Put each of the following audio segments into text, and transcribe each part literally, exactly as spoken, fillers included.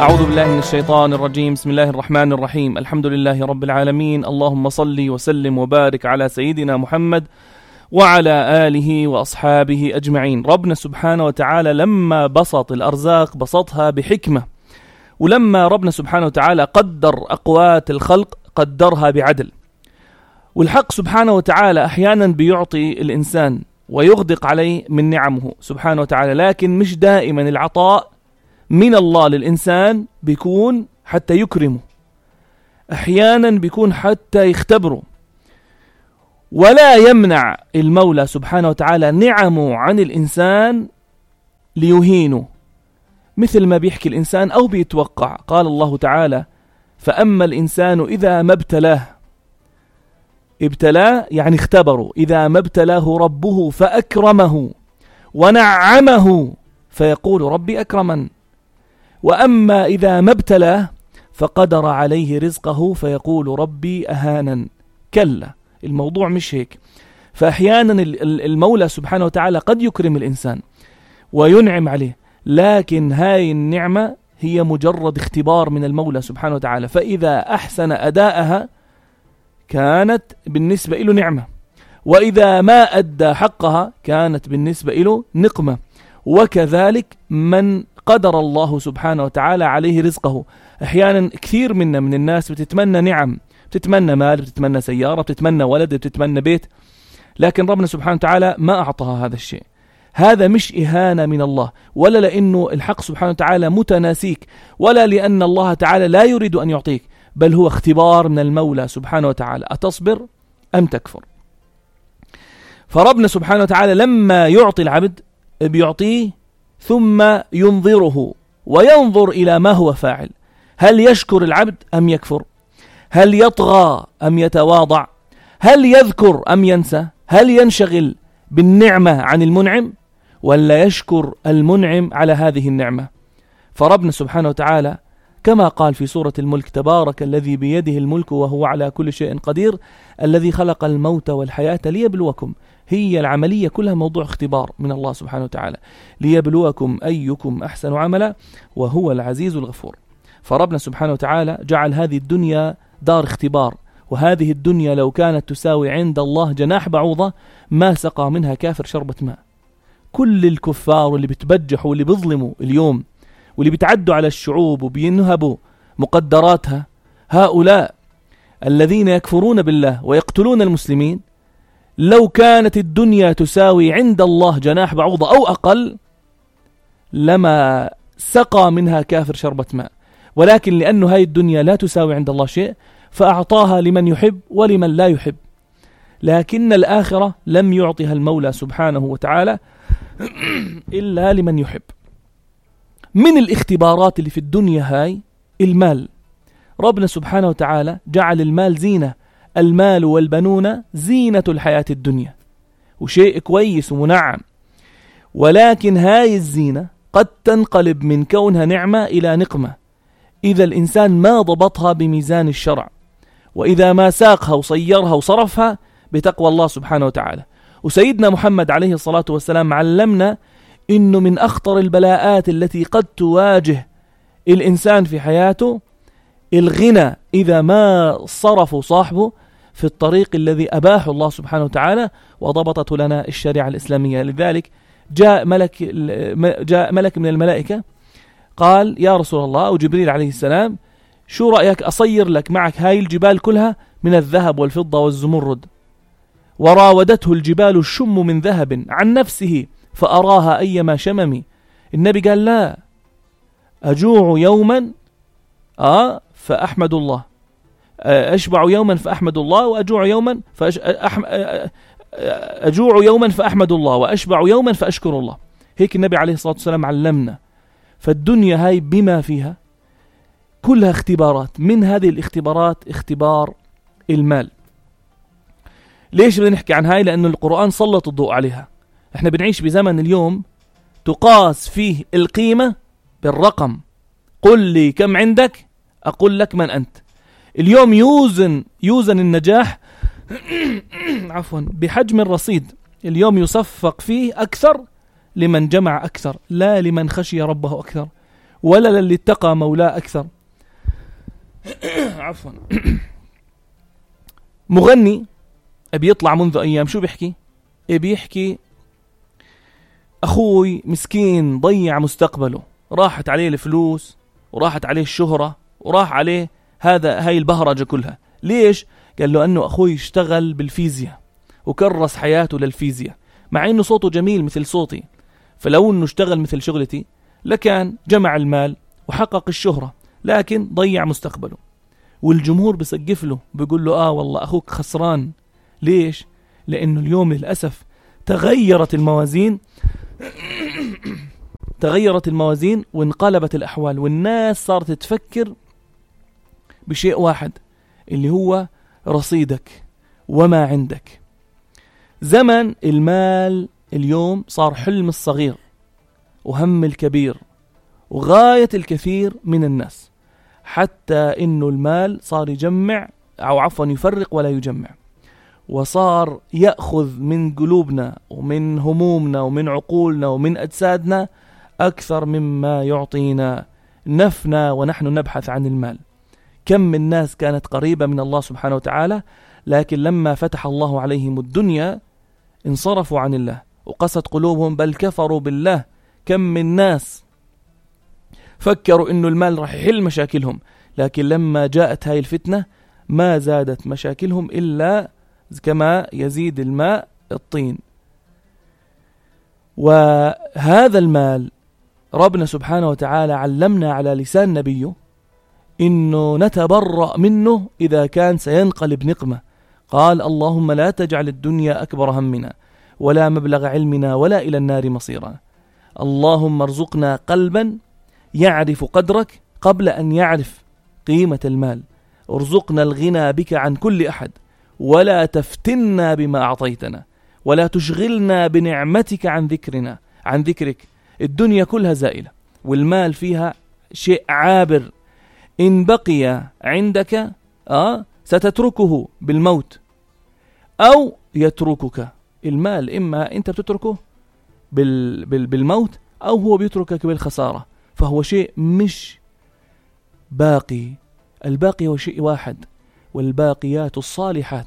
أعوذ بالله من الشيطان الرجيم. بسم الله الرحمن الرحيم. الحمد لله رب العالمين. اللهم صل وسلم وبارك على سيدنا محمد وعلى آله وأصحابه أجمعين. ربنا سبحانه وتعالى لما بسط الأرزاق بسطها بحكمة، ولما ربنا سبحانه وتعالى قدر أقوات الخلق قدرها بعدل. والحق سبحانه وتعالى أحيانا بيعطي الإنسان ويغدق عليه من نعمه سبحانه وتعالى، لكن مش دائما العطاء من الله للإنسان بيكون حتى يكرمه، أحيانا بيكون حتى يختبره. ولا يمنع المولى سبحانه وتعالى نعمه عن الإنسان ليهينه، مثل ما بيحكي الإنسان أو بيتوقع. قال الله تعالى: فأما الإنسان إذا ما ابتلاه، ابتلاه يعني اختبره، إذا ما ابتلاه ربه فأكرمه ونعمه فيقول ربي أكرمن، وأما إذا ما ابتلاه فقدر عليه رزقه فيقول ربي أهانن. كلا، الموضوع مش هيك. فأحيانا المولى سبحانه وتعالى قد يكرم الإنسان وينعم عليه، لكن هاي النعمة هي مجرد اختبار من المولى سبحانه وتعالى، فإذا أحسن أداءها كانت بالنسبة له نعمة، وإذا ما أدى حقها كانت بالنسبة له نقمة. وكذلك من قدر الله سبحانه وتعالى عليه رزقه. أحيانا كثير منا من الناس بتتمنى نعم، بتتمنى مال، بتتمنى سيارة، بتتمنى ولد، بتتمنى بيت، لكن ربنا سبحانه وتعالى ما أعطاها هذا الشيء. هذا مش إهانة من الله، ولا لأنه الحق سبحانه وتعالى متناسيك، ولا لأن الله تعالى لا يريد أن يعطيك، بل هو اختبار من المولى سبحانه وتعالى، أتصبر أم تكفر. فربنا سبحانه وتعالى لما يعطي العبد بيعطيه ثم ينظره وينظر إلى ما هو فاعل. هل يشكر العبد أم يكفر؟ هل يطغى أم يتواضع؟ هل يذكر أم ينسى؟ هل ينشغل بالنعمة عن المنعم، ولا يشكر المنعم على هذه النعمة؟ فربنا سبحانه وتعالى كما قال في سورة الملك: تبارك الذي بيده الملك وهو على كل شيء قدير الذي خلق الموت والحياة ليبلوكم. هي العملية كلها موضوع اختبار من الله سبحانه وتعالى، ليبلوكم أيكم أحسن عملا وهو العزيز الغفور. فربنا سبحانه وتعالى جعل هذه الدنيا دار اختبار، وهذه الدنيا لو كانت تساوي عند الله جناح بعوضة ما سقى منها كافر شربة ماء. كل الكفار اللي بتبجحوا واللي بيظلموا اليوم واللي بيتعدوا على الشعوب وبينهبوا مقدراتها، هؤلاء الذين يكفرون بالله ويقتلون المسلمين، لو كانت الدنيا تساوي عند الله جناح بعوضة أو أقل لما سقى منها كافر شربة ماء، ولكن لأنه هاي الدنيا لا تساوي عند الله شيء فأعطاها لمن يحب ولمن لا يحب. لكن الآخرة لم يعطيها المولى سبحانه وتعالى إلا لمن يحب. من الاختبارات اللي في الدنيا هاي المال. ربنا سبحانه وتعالى جعل المال زينة، المال والبنون زينة الحياة الدنيا، وشيء كويس ومنعم، ولكن هاي الزينة قد تنقلب من كونها نعمة إلى نقمة إذا الإنسان ما ضبطها بميزان الشرع، وإذا ما ساقها وصيرها وصرفها بتقوى الله سبحانه وتعالى. وسيدنا محمد عليه الصلاة والسلام علمنا إنه من أخطر البلاءات التي قد تواجه الإنسان في حياته الغنى إذا ما صرف صاحبه في الطريق الذي أباحه الله سبحانه وتعالى وضبطته لنا الشريعة الإسلامية. لذلك جاء ملك, جاء ملك من الملائكة قال: يا رسول الله، أو جبريل عليه السلام، شو رأيك أصير لك معك هاي الجبال كلها من الذهب والفضة والزمرد؟ وراودته الجبال الشم من ذهب عن نفسه فأراها أيما شممي. النبي قال: لا، أجوع يوما آه فأحمد الله، أشبع يوما فأحمد الله، وأجوع يوما فأش... أحم... أجوع يوما فأحمد الله، وأشبع يوما فأشكر الله. هيك النبي عليه الصلاة والسلام علمنا. فالدنيا هاي بما فيها كلها اختبارات، من هذه الاختبارات اختبار المال. ليش بدنا نحكي عن هاي؟ لأنه القرآن سلط الضوء عليها. احنا بنعيش بزمن اليوم تقاس فيه القيمة بالرقم. قل لي كم عندك أقول لك من أنت. اليوم يوزن يوزن النجاح عفوا بحجم الرصيد. اليوم يصفق فيه أكثر لمن جمع أكثر، لا لمن خشي ربه أكثر. ولا للي اتقى مولاه أكثر. عفوا. مغني أبي يطلع منذ أيام، شو بيحكي؟ بيحكي أخوي مسكين ضيع مستقبله، راحت عليه الفلوس وراحت عليه الشهرة وراح عليه هذا هاي البهرجة كلها. ليش؟ قال له أنه أخوي اشتغل بالفيزياء وكرس حياته للفيزياء، مع أنه صوته جميل مثل صوتي، فلو أنه اشتغل مثل شغلتي لكان جمع المال وحقق الشهرة، لكن ضيع مستقبله. والجمهور بسقف له بيقول له آه والله أخوك خسران. ليش؟ لأنه اليوم للأسف تغيرت الموازين تغيرت الموازين وانقلبت الأحوال، والناس صارت تفكر بشيء واحد اللي هو رصيدك وما عندك. زمن المال اليوم صار حلم الصغير وهم الكبير وغاية الكثير من الناس، حتى إنه المال صار يجمع أو عفوا يفرق ولا يجمع، وصار يأخذ من قلوبنا ومن همومنا ومن عقولنا ومن أجسادنا أكثر مما يعطينا. نفنا ونحن نبحث عن المال. كم من ناس كانت قريبة من الله سبحانه وتعالى، لكن لما فتح الله عليهم الدنيا انصرفوا عن الله وقست قلوبهم بل كفروا بالله. كم من ناس فكروا إنه المال راح يحل مشاكلهم، لكن لما جاءت هاي الفتنة ما زادت مشاكلهم إلا كما يزيد الماء الطين. وهذا المال ربنا سبحانه وتعالى علمنا على لسان نبيه إنه نتبرأ منه إذا كان سينقلب نقمة. قال اللهم لا تجعل الدنيا أكبر همنا ولا مبلغ علمنا ولا إلى النار مصيرنا. اللهم ارزقنا قلبا يعرف قدرك قبل أن يعرف قيمة المال. ارزقنا الغنى بك عن كل أحد ولا تفتنا بما أعطيتنا ولا تشغلنا بنعمتك عن ذكرنا عن ذكرك. الدنيا كلها زائلة والمال فيها شيء عابر، إن بقي عندك آه ستتركه بالموت أو يتركك. المال إما أنت بتتركه بال بال بالموت أو هو بيتركك بالخسارة، فهو شيء مش باقي. الباقي هو شيء واحد، والباقيات الصالحات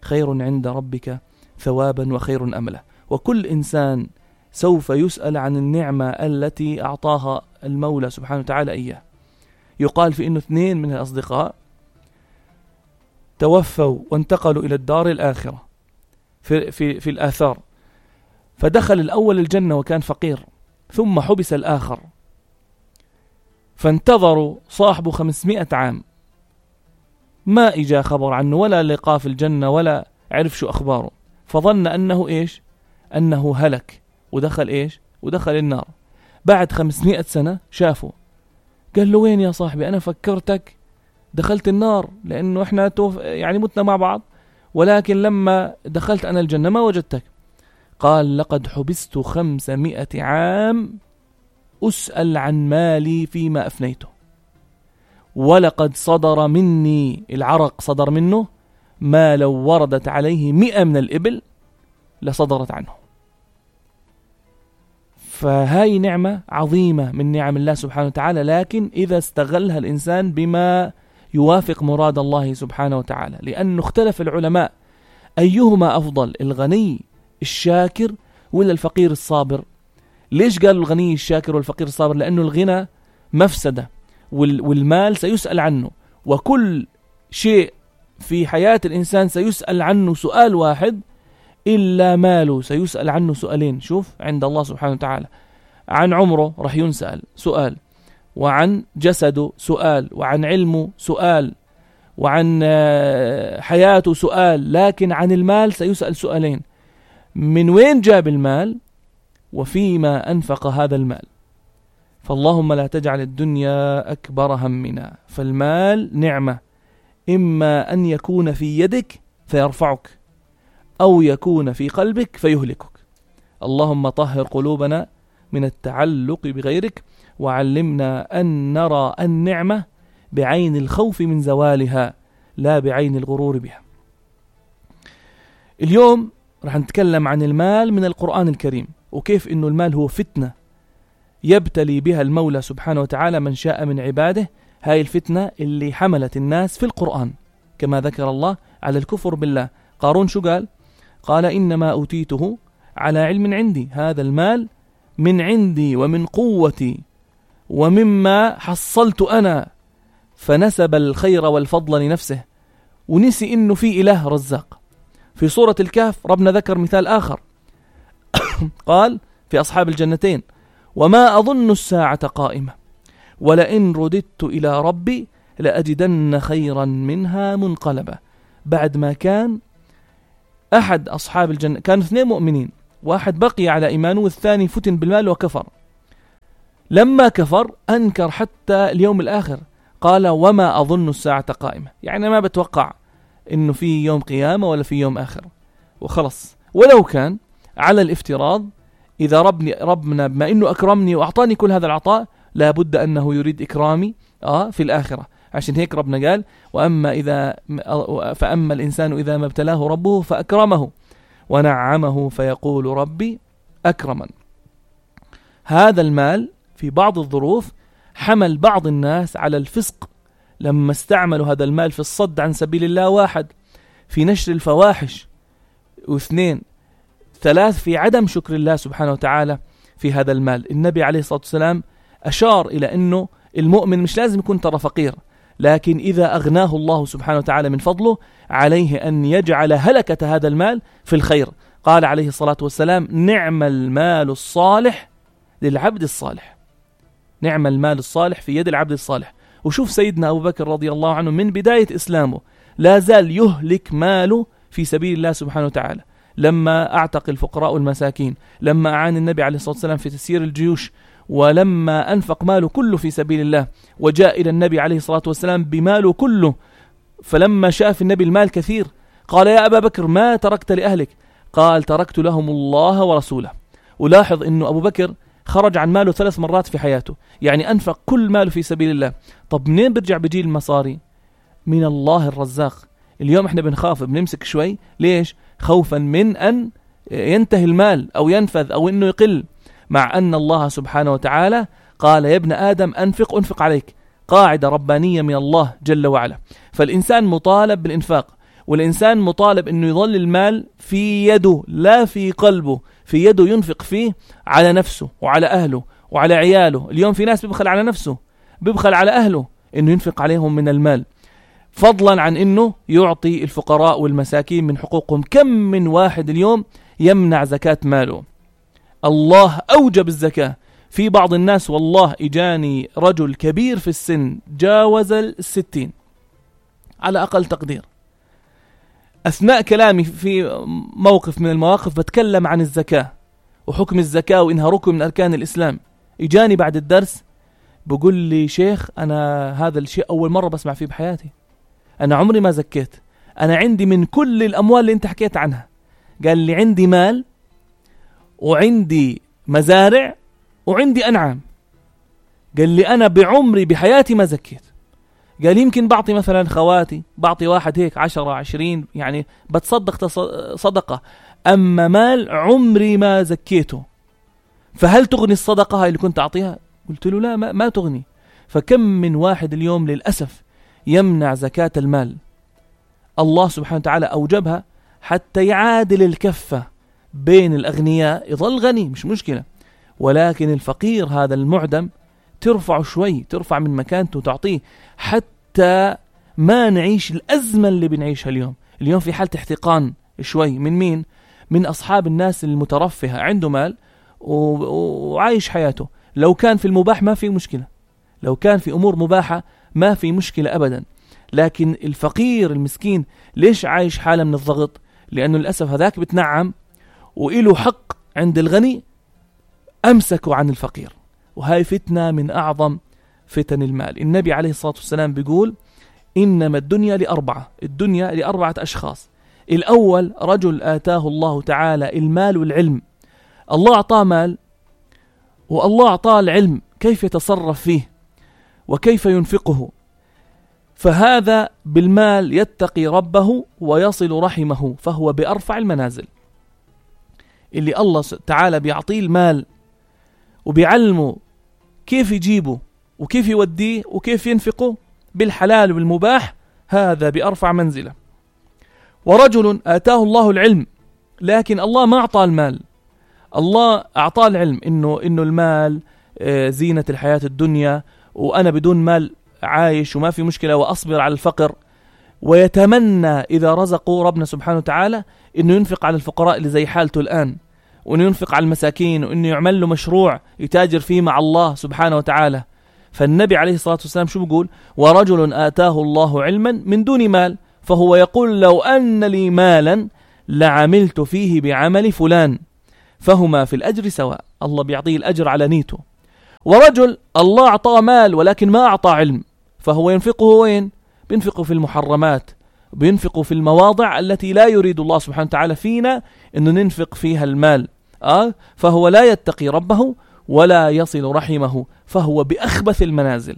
خير عند ربك ثوابا وخير أملا. وكل إنسان سوف يسأل عن النعمة التي أعطاها المولى سبحانه وتعالى إياه. يقال في إنه اثنين من الأصدقاء توفوا وانتقلوا إلى الدار الآخرة في, في, في الآثار، فدخل الأول الجنة وكان فقير، ثم حبس الآخر، فانتظروا صاحبه خمسمائة عام ما إجا خبر عنه ولا لقاه في الجنة ولا عرف شو أخباره، فظن أنه إيش أنه هلك ودخل إيش ودخل النار. بعد خمسمائة سنة شافه، قال له وين يا صاحبي؟ أنا فكرتك دخلت النار لأنه إحنا توف يعني متنا مع بعض، ولكن لما دخلت أنا الجنة ما وجدتك. قال لقد حبست خمسمائة عام أسأل عن مالي فيما أفنيته، ولقد صدر مني العرق صدر منه ما لو وردت عليه مئة من الإبل لصدرت عنه. فهاي نعمة عظيمة من نعم الله سبحانه وتعالى، لكن إذا استغلها الإنسان بما يوافق مراد الله سبحانه وتعالى. لأنه اختلف العلماء أيهما أفضل، الغني الشاكر ولا الفقير الصابر؟ ليش قالوا الغني الشاكر والفقير الصابر؟ لأنه الغنى مفسدة والمال سيسأل عنه، وكل شيء في حياة الإنسان سيسأل عنه سؤال واحد إلا ماله سيسأل عنه سؤالين. شوف عند الله سبحانه وتعالى، عن عمره رح ينسأل سؤال، وعن جسده سؤال، وعن علمه سؤال، وعن حياته سؤال، لكن عن المال سيسأل سؤالين: من وين جاب المال وفيما أنفق هذا المال. فاللهم لا تجعل الدنيا أكبر همنا. فالمال نعمة، إما أن يكون في يدك فيرفعك أو يكون في قلبك فيهلكك. اللهم طهر قلوبنا من التعلق بغيرك، وعلمنا أن نرى النعمة بعين الخوف من زوالها لا بعين الغرور بها. اليوم رح نتكلم عن المال من القرآن الكريم، وكيف إنه المال هو فتنة يبتلي بها المولى سبحانه وتعالى من شاء من عباده. هاي الفتنة اللي حملت الناس في القرآن كما ذكر الله على الكفر بالله. قارون شو قال؟ قال إنما أوتيته على علم عندي، هذا المال من عندي ومن قوتي ومما حصلت أنا، فنسب الخير والفضل لنفسه ونسي إنه في إله رزاق. في سورة الكهف ربنا ذكر مثال آخر قال في أصحاب الجنتين: وما أظن الساعة قائمة ولئن رددت إلى ربي لأجدن خيرا منها منقلبا. بعد ما كان أحد أصحاب الجنة، كانوا اثنين مؤمنين، واحد بقي على إيمانه والثاني فتن بالمال وكفر. لما كفر أنكر حتى اليوم الآخر، قال وما أظن الساعة قائمة، يعني ما بتوقع إنه في يوم قيامة ولا في يوم آخر وخلص. ولو كان على الافتراض إذا ربني ربنا بما إنه أكرمني وأعطاني كل هذا العطاء لابد أنه يريد إكرامي آه في الآخرة. عشان هيك ربنا قال: وأما إذا فأما الإنسان إذا ما ابتلاه ربه فأكرمه ونعمه فيقول ربي أكرمن. هذا المال في بعض الظروف حمل بعض الناس على الفسق لما استعملوا هذا المال في الصد عن سبيل الله، واحد في نشر الفواحش، واثنين ثلاث في عدم شكر الله سبحانه وتعالى في هذا المال. النبي عليه الصلاة والسلام أشار إلى أنه المؤمن مش لازم يكون ترى فقير، لكن إذا أغناه الله سبحانه وتعالى من فضله عليه أن يجعل هلكة هذا المال في الخير. قال عليه الصلاة والسلام: نعم المال الصالح للعبد الصالح. نعم المال الصالح في يد العبد الصالح. وشوف سيدنا أبو بكر رضي الله عنه من بداية إسلامه لا زال يهلك ماله في سبيل الله سبحانه وتعالى، لما أعتق الفقراء والمساكين، لما أعان النبي عليه الصلاة والسلام في تسيير الجيوش، ولما أنفق ماله كله في سبيل الله، وجاء إلى النبي عليه الصلاة والسلام بماله كله. فلما شاف النبي المال كثير قال: يا أبا بكر ما تركت لأهلك؟ قال: تركت لهم الله ورسوله. ولاحظ أنه أبو بكر خرج عن ماله ثلاث مرات في حياته، يعني أنفق كل ماله في سبيل الله. طب منين برجع بيجي المصاري؟ من الله الرزاق. اليوم احنا بنخاف بنمسك شوي، ليش؟ خوفا من أن ينتهي المال أو ينفذ أو أنه يقل، مع أن الله سبحانه وتعالى قال: يا ابن آدم أنفق أنفق عليك. قاعدة ربانية من الله جل وعلا. فالإنسان مطالب بالإنفاق، والإنسان مطالب أنه يظل المال في يده لا في قلبه، في يده ينفق فيه على نفسه وعلى أهله وعلى عياله. اليوم في ناس بيبخل على نفسه، بيبخل على أهله أنه ينفق عليهم من المال، فضلا عن أنه يعطي الفقراء والمساكين من حقوقهم. كم من واحد اليوم يمنع زكاة ماله؟ الله أوجب الزكاة. في بعض الناس والله إجاني رجل كبير في السن جاوز الستين على أقل تقدير، أثناء كلامي في موقف من المواقف بتكلم عن الزكاة وحكم الزكاة وإنها ركن من أركان الإسلام، إجاني بعد الدرس بقول لي: شيخ أنا هذا الشيء أول مرة بسمع فيه بحياتي، أنا عمري ما زكيت، أنا عندي من كل الأموال اللي أنت حكيت عنها. قال لي: عندي مال وعندي مزارع وعندي أنعام. قال لي: أنا بعمري بحياتي ما زكيت. قال: يمكن بعطي مثلا خواتي، بعطي واحد هيك عشرة عشرين، يعني بتصدق صدقة، أما مال عمري ما زكيته. فهل تغني الصدقة هاي اللي كنت أعطيها؟ قلت له: لا، ما, ما تغني. فكم من واحد اليوم للأسف يمنع زكاة المال. الله سبحانه وتعالى أوجبها حتى يعادل الكفة بين الأغنياء، يظل غني مش مشكلة، ولكن الفقير هذا المعدم ترفع شوي، ترفع من مكانته وتعطيه، حتى ما نعيش الأزمة اللي بنعيشها اليوم. اليوم في حالة احتقان شوي من مين؟ من أصحاب الناس المترفهة، عنده مال وعايش حياته. لو كان في المباح ما في مشكلة، لو كان في أمور مباحة ما في مشكلة أبدا. لكن الفقير المسكين ليش عايش حالة من الضغط؟ لأنه للأسف هذاك بتنعم وإله حق عند الغني، أمسكوا عن الفقير. وهاي فتنة من أعظم فتن المال. النبي عليه الصلاة والسلام بيقول: إنما الدنيا لأربعة، الدنيا لأربعة أشخاص. الأول رجل آتاه الله تعالى المال والعلم. الله أعطاه مال والله أعطاه العلم كيف يتصرف فيه وكيف ينفقه، فهذا بالمال يتقي ربه ويصل رحمه، فهو بأرفع المنازل. اللي الله تعالى بيعطيه المال وبيعلمه كيف يجيبه وكيف يوديه وكيف ينفقه بالحلال والمباح، هذا بأرفع منزلة. ورجل آتاه الله العلم، لكن الله ما أعطاه المال. الله أعطاه العلم إنه إنه المال زينة الحياة الدنيا، وأنا بدون مال عايش وما في مشكلة وأصبر على الفقر، ويتمنى إذا رزقوا ربنا سبحانه وتعالى إنه ينفق على الفقراء اللي زي حالته الآن، وإنه ينفق على المساكين، وإنه يعمل له مشروع يتاجر فيه مع الله سبحانه وتعالى. فالنبي عليه الصلاة والسلام شو بيقول؟ ورجل آتاه الله علما من دون مال فهو يقول لو أن لي مالا لعملت فيه بعمل فلان، فهما في الأجر سواء. الله بيعطيه الأجر على نيته. ورجل الله أعطاه مال ولكن ما أعطاه علم، فهو ينفقه وين؟ بينفقه في المحرمات، بينفقه في المواضع التي لا يريد الله سبحانه وتعالى فينا أنه ننفق فيها المال. آه فهو لا يتقي ربه ولا يصل رحمه، فهو بأخبث المنازل.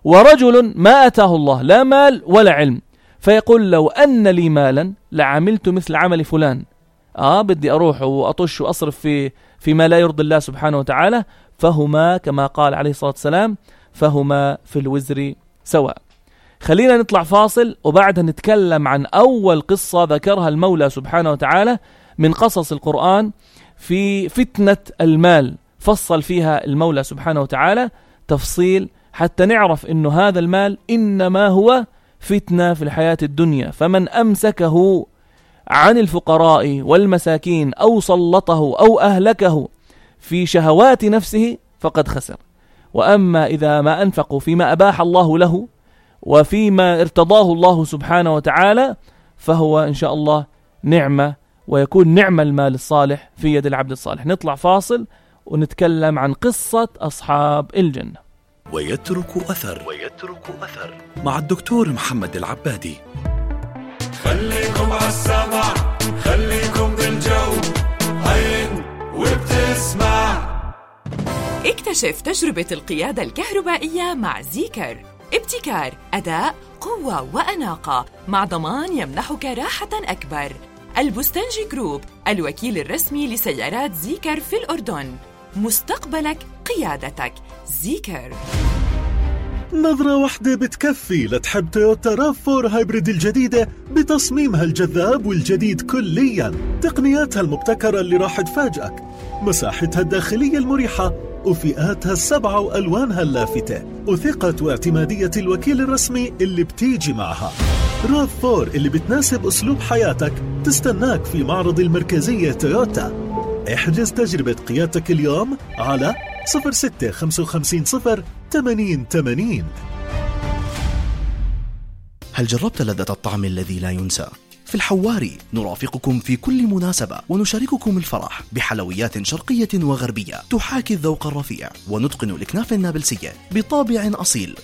ورجل ما أتاه الله لا مال ولا علم، فيقول لو أن لي مالا لعملت مثل عمل فلان. آه بدي أروح وأطش وأصرف في فيما لا يرضي الله سبحانه وتعالى، فهما كما قال عليه الصلاة والسلام فهما في الوزر سواء. خلينا نطلع فاصل وبعدها نتكلم عن أول قصة ذكرها المولى سبحانه وتعالى من قصص القرآن في فتنة المال، فصل فيها المولى سبحانه وتعالى تفصيل حتى نعرف إنه هذا المال إنما هو فتنة في الحياة الدنيا، فمن أمسكه عن الفقراء والمساكين أو سلطه أو أهلكه في شهوات نفسه فقد خسر. وأما إذا ما أنفقوا فيما أباح الله له وفيما ارتضاه الله سبحانه وتعالى فهو إن شاء الله نعمة، ويكون نعمة المال الصالح في يد العبد الصالح. نطلع فاصل ونتكلم عن قصة أصحاب الجنة. ويترك أثر ويترك أثر مع الدكتور محمد العبادي. خليكم عالسمع، خليكم بالجو، عين وبتسمع. اكتشف تجربة القيادة الكهربائية مع زيكر. ابتكار، أداء، قوة وأناقة مع ضمان يمنحك راحة أكبر. البستنجي جروب، الوكيل الرسمي لسيارات زيكر في الأردن. مستقبلك قيادتك. زيكر. نظرة واحدة بتكفي لتحب تويوتا راف فور هايبريد الجديدة بتصميمها الجذاب والجديد كلياً، تقنياتها المبتكرة اللي راح تفاجئك، مساحتها الداخلية المريحة وفئاتها السبعة وألوانها اللافتة، وثقة واعتمادية الوكيل الرسمي اللي بتيجي معها. راف فور اللي بتناسب أسلوب حياتك تستناك في معرض المركزية تويوتا. احجز تجربة قيادتك اليوم على صفر ستة خمسة خمسين صفر ثمانين ثمانين. هل جربت لذة الطعم الذي لا ينسى؟ في الحواري نرافقكم في كل مناسبة ونشارككم الفرح بحلويات شرقية وغربية تحاكي الذوق الرفيع، ونتقن الأكناف النابلسية بطابع أصيل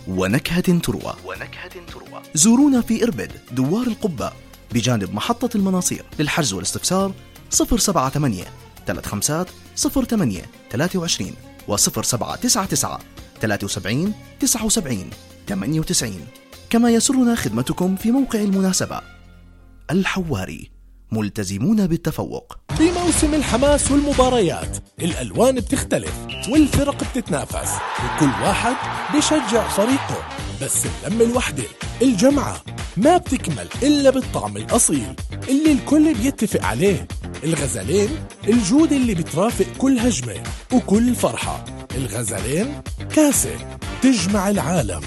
ونكهة تروى ونكهة تروى. زورونا في إربد دوار القبة بجانب محطة المناصير. للحجز والاستفسار صفر سبعة ثمانية ثلاثة خمسة صفر ثمانية ثلاثة وعشرين وصفر سبعة تسعة تسعة ثلاثة وسبعين تسعة وسبعين ثمانية وتسعين. كما يسرنا خدمتكم في موقع المناسبة. الحواري، ملتزمون بالتفوق. في موسم الحماس والمباريات الألوان بتختلف والفرق بتتنافس وكل واحد بيشجع فريقه، بس اللمة الوحدة الجمعة ما بتكمل إلا بالطعم الأصيل اللي الكل بيتفق عليه. الغزلين، الجودة اللي بترافق كل هجمة وكل فرحة. الغزلين كاسة تجمع العالم.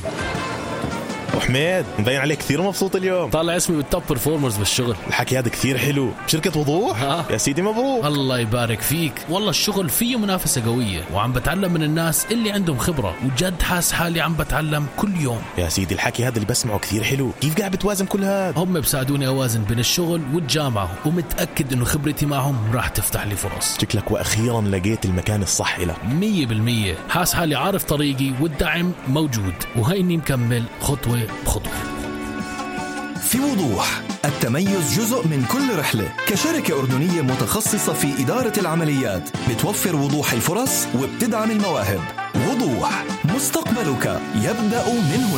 وحميد مبين عليك كثير مبسوط اليوم، طالع اسمي بالتوب برفورمرز بالشغل. الحكي هذا كثير حلو بشركة وضوح. ها. يا سيدي مبروك. الله يبارك فيك. والله الشغل فيه منافسة قوية وعم بتعلم من الناس اللي عندهم خبرة، وجد حاس حالي عم بتعلم كل يوم. يا سيدي الحكي هذا اللي بسمعه كثير حلو. كيف قاعد بتوازن كل هذا؟ هم بساعدوني أوازن بين الشغل والجامعة، ومتأكد إنه خبرتي معهم راح تفتح لي فرص. شكلك وأخيرا لقيت المكان الصح لك. مية بالمية حاس حالي عارف طريقي والدعم موجود، وهيني مكمل خطوة بخطوة. في وضوح، التميز جزء من كل رحلة. كشركة أردنية متخصصة في إدارة العمليات بتوفر وضوح الفرص وبتدعم المواهب. وضوح، مستقبلك يبدأ من هنا.